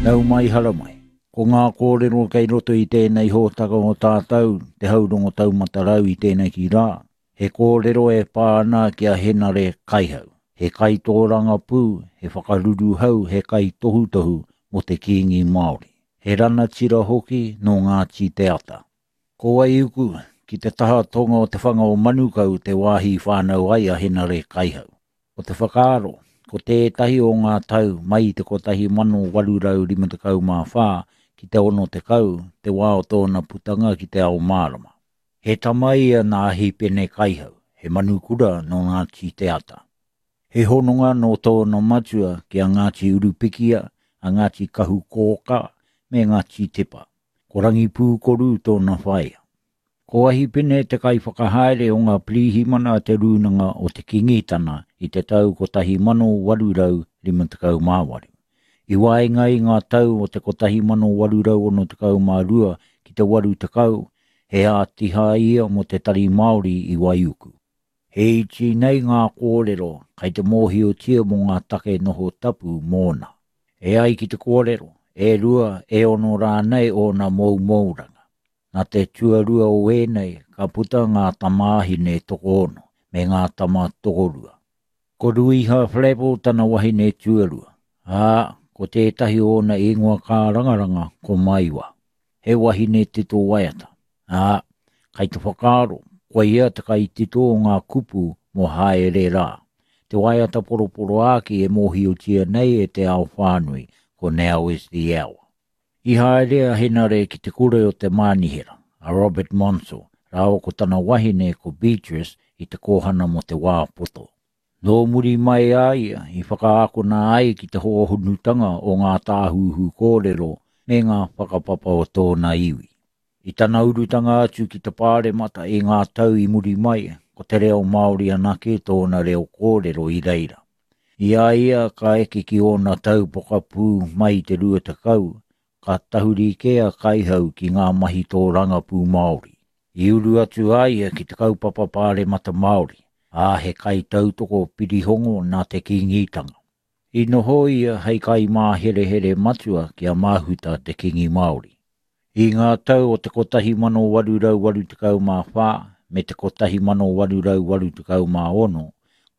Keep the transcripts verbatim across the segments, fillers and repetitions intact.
Nau mai hara mai. Ko ngā kōrero kei roto i tēnei hōtaka o tātou, te haurongo taumatarau i tēnei ki rā. He kōrero e pā ana ki a Henare Kaihau. He kaitōranga pū, he whakaruruhau, he kaitohutohu mō te Kīngi Māori. He ranatira hoki nō Ngāti Te Ata. Ko Waiuku, ki te taha tonga o te whanga o Manukau te wāhi whānau ai a Henare Kaihau. Ko te whakaaro, ko tētahi o ngā tau mai i te kotahi mano waru rau rima tekau mā whā ki te ono tekau te wā o tōna putanga ki te ao mārama. He tama ia nā Hipene Kaihau, he manukura nō Ngāti Te Ata. He hononga nō tōna matua ki a Ngāti Urupikia, a Ngāti Kahukōka me Ngāti Tepa. Ko Rangipūkoru tōna whaea. Ko Ahipene te kaiwhakahaere o ngā pirihimana a te Rūnanga o te Kingitana i te tau kotahi mano waru rau rima tekau mā waru. I waenga i ngā tau o te kotahi mano waru rau ono tekau mā rua ki te waru tekau, he ātiha ia mō te Tari Māori i Waiuku. He iti nei ngā kōrero kai te mōhiotia mō ngā take noho tapu mōna. E ai ki te kōrero, e rua, e ono rānei ōna moumouranga. Nā te tuarua o ēnei ka puta ngā tamāhine tokoono me ngā tama tokorua. Ko Ruiha Flavell tana wahine tuarua, ā, ko tētahi ōna ingoa kārangaranga ko Maiwa. He wahine tito waiata, ā, kai te whakaaro, koia ia te kaitito o ngā kupu mō Haere Rā. Te waiata poroporoāki e mōhiotia nei e te ao whānui, ko Now is the Hour. I haere a Henare ki te kura o te Mānihera, a Robert Monsell, rāua ko tana wahine ko Beatrice i te kōhana mō te wā poto. Nō muri mai a ia i whakaakona ai ki te hōhonutanga o ngā tāhuhu kōrero me ngā whakapapa o tōna iwi. I tana urutanga atu ki te pāremata i ngā tau i muri mai, ko te reo Māori anake tōna reo kōrero i reira. I a ia ka eke ki ōna tau pokapū mai i te rua tekau, ka tahuri kē a Kaihau ki ngā mahi tōrangapū Māori. I uru atu a ia ki te kaupapa pāremata Māori, ā, he kaitautoko pirihongo nā te Kīngitanga. I noho ia hei kaimāherehere matua ki a Mahuta te Kīngi Māori. I ngā tau o te kotahi mano waru rau waru tekau mā whā me te kotahi mano waru rau waru tekau mā ono,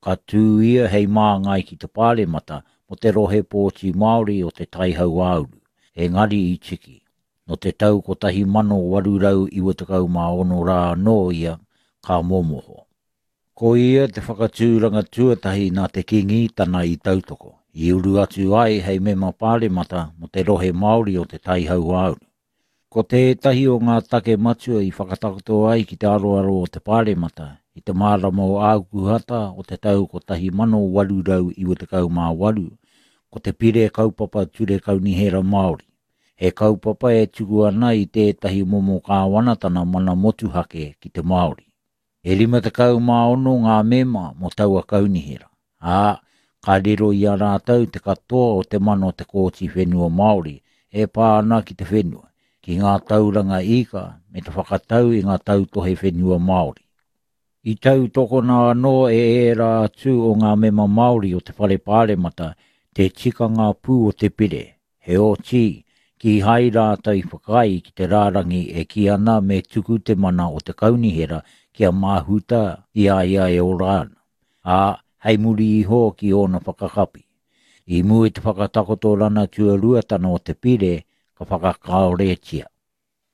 ka tū ia hei māngai ki te pāremata mō te rohe pōti Māori o te Tai Hauāuru, engari i tiki. Nō te tau kotahi mano waru rau iwa tekau mā ono rā anō ia ka momoho. Ko ia te whakatūranga tuatahi nā te Kīngitana i tautoko, i uru atu ai hei mema pāremata mō te rohe Māori o te Tai Hauāuru. Ko tētahi o ngā take matua i whakatakoto ai ki te aroaro o te pāremata i te mārama o Ākuhata o te tau kotahi mano waru rau iwa tekau mā waru, ko te pire kaupapa ture kaunihera Māori. He kaupapa e tuku ana i tētahi momo kāwanatana mana motuhake ki te Māori. E rima tekau mā ono ngā mema mō taua kaunihera, ā, ka riro i a rātou te katoa o te mana o te Kōti Whenua Māori e pā ana ki te whenua, ki ngā tauranga ika me te whakatau i ngā tautohe whenua Māori. I tautokona anō e ērā atu o ngā mema Māori o te Whare Pāremata te tikanga pū o te pire, heoti, kīhai rātou i whakaae ki te rārangi e kī ana me tuku te mana o te kaunihera ki a Mahuta i a ia e ora ana, ā, hei muri iho ki ōna whakakapi. I mua i te whakatakotorana tuaruatana o te pire, ka whakakaoretia.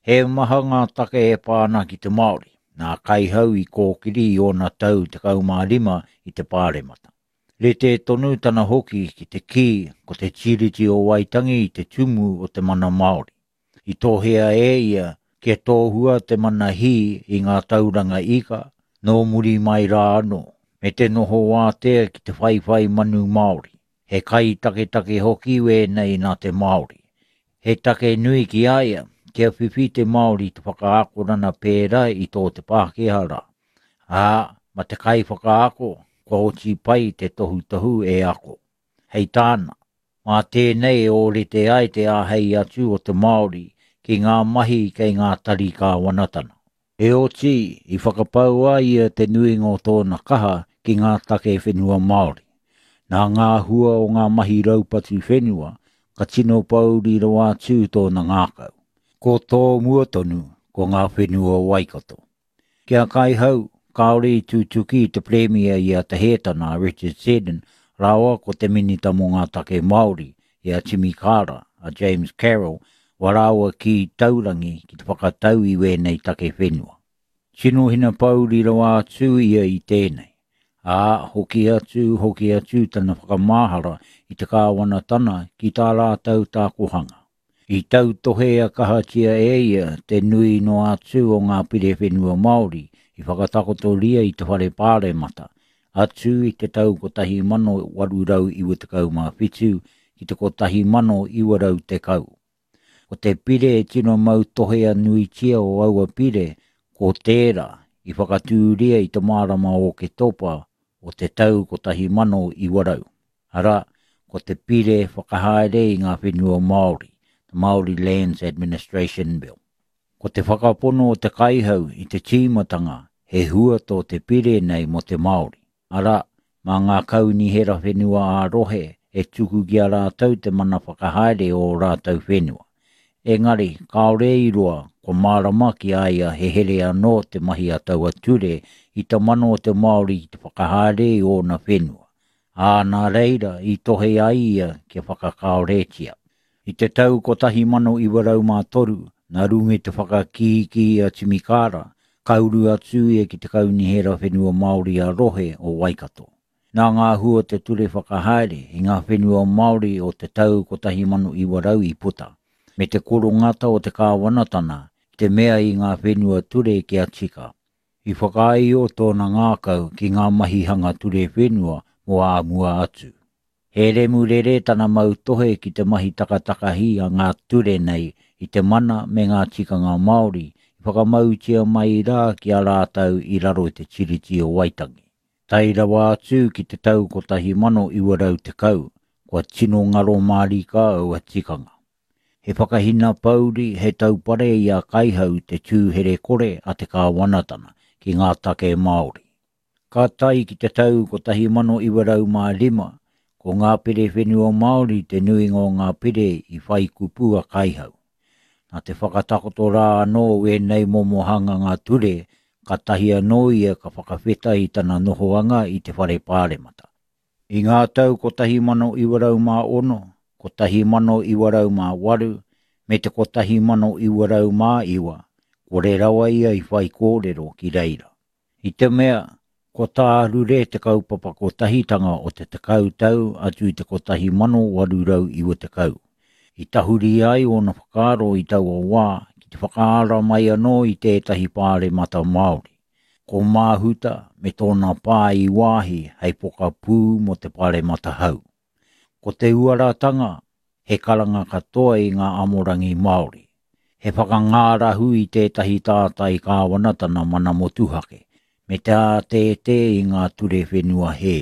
He maha ngā take e pā ana ki te Māori, nā Kaihau i kōkiri i ōna tau tekau mā rima i te pāremata. Rite tonu tana hoki ki te kī ko te Tiriti o Waitangi i te tumu o te mana Māori. I tohea e ia kia tōhua te mana hī i ngā tauranga ika, nō muri mai rā anō, me te noho wātea ki te whaiwhai manu Māori. He kai taketake hoki wēnei nā te Māori. He take nui ki a ia, kia whiwhi te Māori te whakaakorana pērā i tō te Pākehā rā. Ā, ma te kai whakaako, kua oti pai te tohutohu e ako. Hei tāna, mā tēnei e ōrite ai te āhei atu o te Māori ki ngā mahi kei ngā tari kāwanatana. Heoti, i whakapau ai ia te nuinga o tōna kaha ki ngā take whenua Māori. Nā ngā hua o ngā mahi raupatu whenua, ka tino pōuri rawa atu tōna ngākau. Ko tō mua tonu, ko ngā whenua o Waikato. Ki a Kaihau, kāore i tutuki i te Premier i a Te Hētana a Richard Seddon rāua ko te Minita mō ngā Take Māori i a Timi Kara, a James Carroll, wa rāua ki taurangi ki te whakatau i wēnei take whenua. Tino hina pōuri rawa atu ia i tēnei. Ā, hoki atu, hoki atu tana whakamahara i te kāwanatana ki tā rātou tākohanga. I tautohe a kahatia e ia te nui noa atu o ngā pire whenua Māori i whakatakotoria i te whare pāremata, atu i te tau kotahi mano waru rau iwa tekau mā whitu ki te kotahi mano iwa rau tekau. Ko te pire e tino mau tohe a nuitia o aua pire, ko tērā i whakatūria i te marama o Oketopa o te tau kotahi mano iwa rau. Arā, ko te pire whakahaere i ngā whenua Māori, the Māori Lands Administration Bill. Ko te whakapono o te Kaihau i te tīmatanga he hua tō te pire nei mō te Māori. Arā, mā ngā kaunihera whenua ā-rohe e tuku ki a rātou te mana whakahaere o rātou whenua. Engari, kāore i roa, ko mārama ki a ia he here anō te mahi a taua ture i te mana o te Māori ki te whakahaere i ōna whenua. Ā, nā reira i tohe ai ia kia whakakāoretia. I te tau kotahi mano iwa rau mā toru, nā runga i te whakakīkī a Timi Kara, ka uru atu ia ki te kaunihera whenua Māori a rohe o Waikato. Nā ngā hua te ture whakahaere i ngā whenua Māori o te tau kotahi mano iwa rau i puta, me te korongata o te kāwanatana ki te mea i ngā whenua ture kia tika. I whakaaio tōna ngākau ki ngā mahi hanga ture whenua mō āmua atu. He remurere tana mau tohe ki te mahi takatakahi a ngā ture nei i te mana me ngā tikanga Māori i whakamautia mai rā ki a rātou i raro i te Tiriti o Waitangi. Tai rawa atu ki te tau kotahi mano iwa rau tekau, kua tino ngaro mārika aua tikanga. He whakahina pōuri, he taupare i a Kaihau te tūhere kore a te kāwanatana ki ngā take Māori. Ka tai ki te tau kotahi mano iwa rau mā rima, ko ngā pire whenua Māori te nuinga o ngā pire i whai kupu a Kaihau. Nā te whakatakoto rā anō wēnei momo hanga ngā ture, ka tahi anō ia ka whakawheta i tana nohoanga i te whare pāremata. I ngā tau kotahi mano iwa rau mā ono, kotahi mano iwa rau mā waru, me te kotahi mano iwa rau mā iwa, kore rawa ia i whai kōrero ki reira. I te mea, ko tārure te kaupapa kotahitanga o te tekau tau atu i te kotahi mano waru rau iwa tekau. I tahuri ai ōna whakaaro i taua wā ki te whakaara mai anō i tētahi pāremata Māori. Ko Māhuta me tōna pā i wāhi hei pokapū mō te pāremata hau. Ko te uaratanga, he karanga katoa i ngā amorangi Māori. He whakangārahu i tētahi tātai kāwanatana mana motuhake, me te ātētē i ngā ture whenua hē.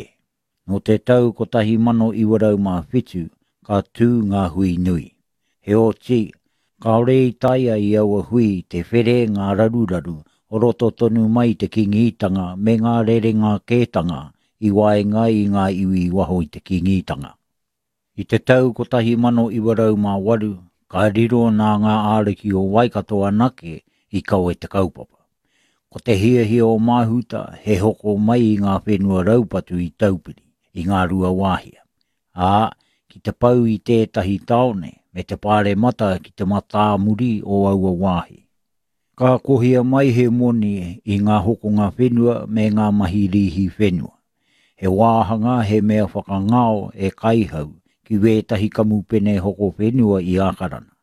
Nō te tau kotahi mano iwa rau mā whitu, ka tū ngā hui nui. Heoti, kāore i taea i aua hui te where ngā raruraru o roto tonu mai te kingitanga me ngā rerenga kētanga i waenga i ngā iwi waho i te kingitanga. I te tau kotahi mano iwa rau mā waru, ka riro nā ngā āriki o Waikato anake i kawe te kaupapa. Ko te hiahia o Māhuta he hoko mai i ngā whenua raupatu i Taupiri, i ngā rua wāhia. Ā, ki te pau i tētahi tāone me te pāremata ki te matāmuri o aua wāhi. Ka kohia mai he moni i ngā hokonga whenua me ngā mahi rīhi whenua. He wāhanga he mea whakangao e Kaihau ki wētahi kamupene hoko whenua i Ākarana.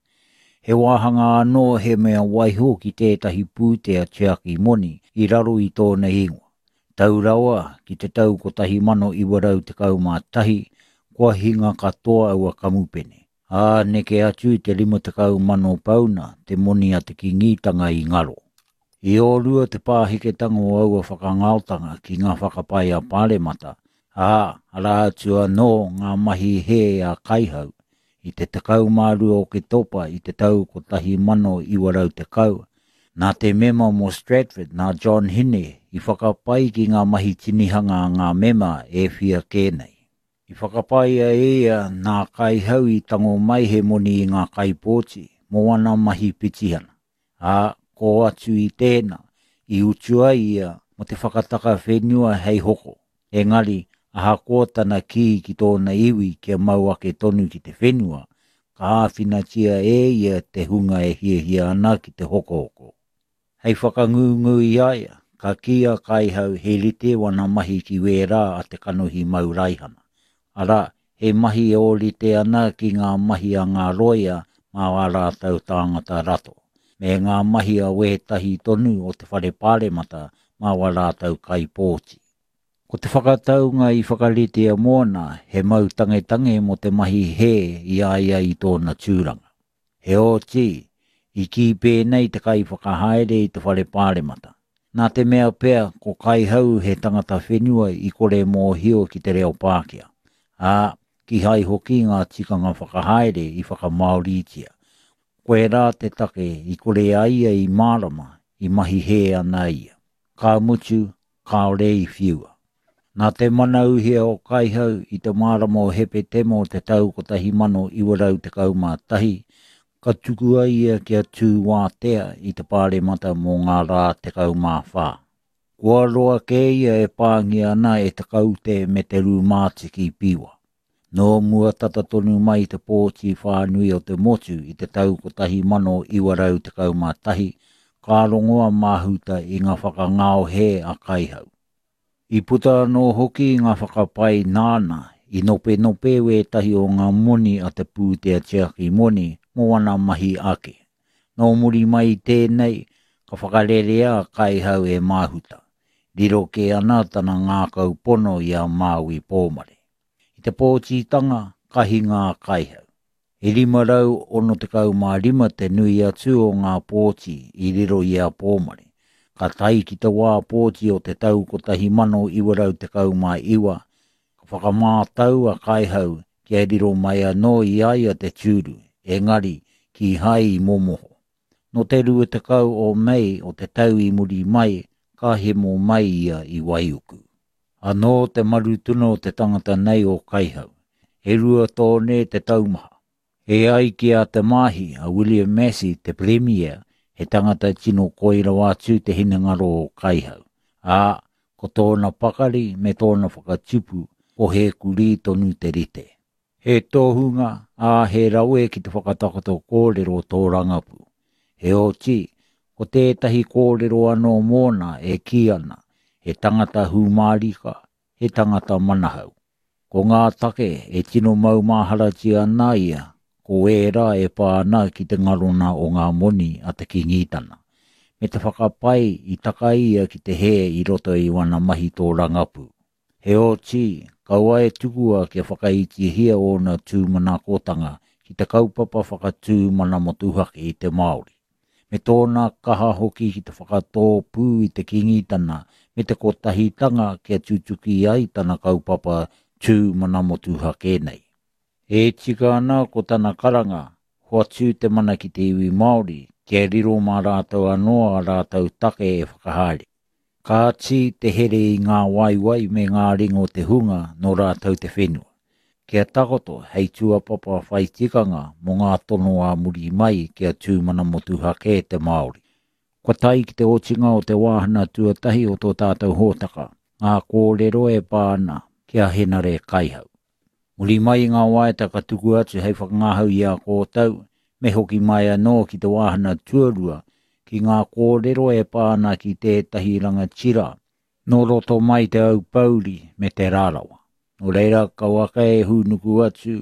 He wāhanga anō he mea waiho ki tētahi pūtea tiaki moni i raro i tōna ingoa. Tau rawa ki te tau kotahi mano iwa rau tekau mā tahi, kua hinga katoa aua kamupene. Ā, neke atu i te rima tekau mano pauna te moni a te kingitanga i ngaro. I ōrua te pāheketanga o aua whakangaotanga ki ngā whakapae a Pāremata, ā, arā atu anō ngā mahi hē a Kaihau i te tekau mā rua Oketopa i te tau kotahi mano iwa rau tekau, nā te mema mō Stratford, nā John Hine, i whakapai ki ngā mahi tinihanga a ngā mema e whia kē nei. I whakapaia e ia nā Kaihau i tango mai he moni i ngā kaipōti mō ana mahi pitihana. Ā, ko atu i tēnā, i utua ia mō te whakataka whenua hei hoko. Engari, ahakoa tana kī ki tōna iwi kia mau ake tonu ki te whenua, ka āwhinatia e ia te hunga e hiahia ana ki te hokohoko. Hei whakangungu i a ia, ka kī a Kaihau he rite wana mahi ki wērā a te kanohi mau raihana. Arā, he mahi e ōrite ana ki ngā mahi a ngā roia mā wā rātou tāngata rato, me ngā mahi a wētahi tonu o te whare pāremata mā wā rātou kaipōti. Ko te whakataunga i whakaritea mōna he mau tangetange mō te mahi hē i a ia i tōna tūranga. Heoti, i kī pēnei te kaiwhakahaere i te whare pāremata. Nā te mea pea ko Kaihau he tangata whenua i kore mōhio ki te reo Pākehā, ā, kihai hoki ngā tikanga whakahaere i whakamāoritia. Koirā te take i kore ai ia i mārama, i mahi hē ana ia. Ka mutu, kāore i whiua. Nā te mana uhia o Kaihau i te marama o Hepetema o te tau kotahi mano iwa rau tekau mā tahi, ka tukua ia kia tū wātea i te pāremata mō ngā rā tekau mā whā. Kua roa kē ia e pāngia ana e te kaute me te rūmātiki piwa. Nō mua tata tonu mai te pōti whānui o te motu i te tau kotahi mano iwa rau tekau mā tahi, ka rongo a Māhuta i ngā whakangao hē a Kaihau. I puta anō hoki ngā whakapae nāna i nopenope wētahi o ngā moni a te pūtea tiaki moni mō ana mahi ake. Nō muri mai i tēnei, ka whakarerea a Kaihau e Māhuta. Riro kē ana tana ngākau pono i a Māui Pōmare. I te pōtitanga, ka hinga a Kaihau. E rima rau ono tekau mā rima te nui atu o ngā pōti i riro i a Pōmare. Ka tae ki te wā pōti o te tau kotahi mano iwa rau tekau mā iwa, ka whakamātau a Kaihau kia riro mai anō i a ia te tūru, engari kīhai i momoho. Nō te rua tekau o Mei o te tau i muri mai, ka hemo mai ia i Waiuku. Anō te marutuna o te tangata nei o Kaihau. E rua tōne te taumaha. E ai ki a Te Maahi, a William Massey, te Premier, he tangata tino koi rawa atu te hinengaro o Kaihau. Ā, ko tōna pakari me tōna whakatipu, ko he kurī tonu te rite. He tohunga, ā, he rawe ki te whakatakoto kōrero tōrangapū. Heoti, ko tētahi kōrero anō mōna e kī ana, he tangata hūmārika, he tangata manahau. Ko ngā take e tino maumaharatia ana ia, ko ērā e pā ana ki te ngarona o ngā moni a te Kīngitana, me te whakapae i taka ia ki te hē i roto i wana mahi tōrangapū. Heoti, kaua e tukua kia whakaitihia ōna tūmanakotanga ki te kaupapa whakatū mana motuhake i te Māori, me tōna kaha hoki ki te whakatōpū i te Kīngitana me te kotahitanga kia tutuki ai tana kaupapa tū mana motuhake nei. E tika ana ko tana karanga, hoatu te mana ki te iwi Māori, kia riro mā rātou anō a rātou take e whakahaere. Kāti te here i ngā waewae me ngā ringa o te hunga nō rātou te whenua. Kia takoto hei tūāpapa whai tikanga mō ngā tono ā muri mai kia tū mana motuhake te Māori. Kua tae ki te otinga o te wāhanga tuatahi o tō tātou hōtaka, ngā kōrero e pā ana ki a Henare Kaihau. Muri mai i ngā waiata ka tuku atu hei whakangahau i a koutou, me hoki mai anō ki te wāhanga tuarua, ki ngā kōrero e pā ana ki tētahi rangatira, nō roto mai te Aupōuri me te Rarawa. Nō reira, kauaka e hūnuku atu,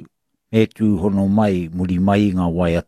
me tūhono mai muri mai i ngā waiata.